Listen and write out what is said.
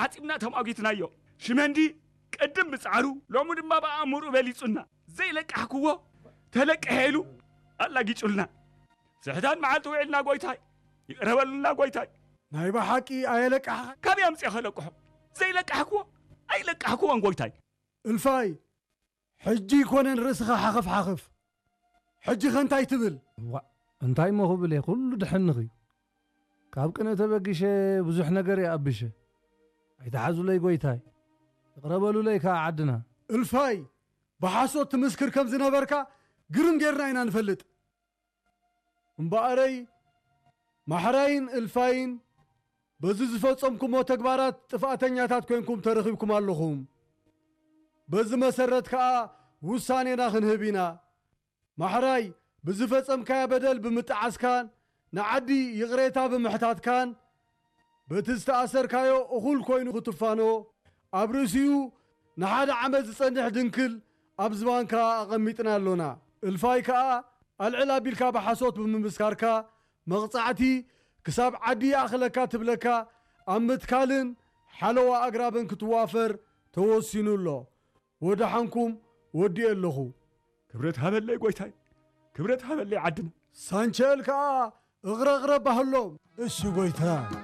ዓጺብና ተማጒትናዮ። ሽመንዲ ቅድም ብጻዕሩ፣ ሎሚ ድማ ብኣእምርኡ በሊጹና። ዘይለቃሕክዎ ተለቅሐ ኢሉ ኣላጊጹልና። ስሕታን መዓልቲ ውዒልና ጎይታይ፣ ይቕረ በሉልና ጎይታይ። ናይ ብሓቂ ኣየለቃሕኻ? ካበይ ኣምጺኤ ከለቅሖ? ዘይለቃሕክዎ ኣይለቃሕክዎን ጎይታይ። እልፋይ፣ ሕጂ ይኮነን ርእስኻ ሓኸፍ ሓኸፍ። ሕጂ ከ እንታይ ትብል? እዋእ፣ እንታይ እሞ ክብል እየ፣ ኩሉ ድሕንኽ እዩ። ካብ ቅንኢ ተበጊሸ ብዙሕ ነገር እየ ኣብሸ። ኣይትሓዙለይ ጎይታይ፣ ይቕረ በሉለይ ከኣ ዓድና። እልፋይ፣ ብሓሶት ትምስክር ከም ዝነበርካ ግርም ጌርና ኢና ንፈልጥ። እምበኣረይ፣ ማሕራይን እልፋይን በዚ ዝፈጸምኩሞ ተግባራት ጥፍኣተኛታት ኮይንኩም ተረኺብኩም ኣለኹም። በዚ መሰረት ከኣ ውሳኔና ክንህብ ኢና። ማሕራይ፣ ብዝፈጸምካዮ በደል ብምጥዓስካን ንዓዲ ይቕሬታ ብምሕታትካን፣ በቲ ዝተኣሰርካዮ እኹል ኮይኑ ክትፋኖ፣ ኣብ ርእሲኡ ንሓደ ዓመት ዝጸንሕ ድንክል ኣብ ዝባንካ ኣቐሚጥና ኣሎና። እልፋይ ከኣ ኣልዕል ኣቢልካ ብሓሶት ብምምስካርካ፣ መቕጻዕቲ ክሳብ ዓዲ ይኣኽለካ ትብለካ ኣብ ምትካልን ሓለዋ ኣግራብን ክትዋፈር ተወሲኑ ኣሎ። ወደሓንኩም፣ ወዲኤ ኣለኹ። ክብረት ሃበለይ ጎይታይ፣ ክብረት ሃበለይ ዓድና። ሳንቸል ከኣ እቕረቕረ ባህሎም። እሺ ጎይታ።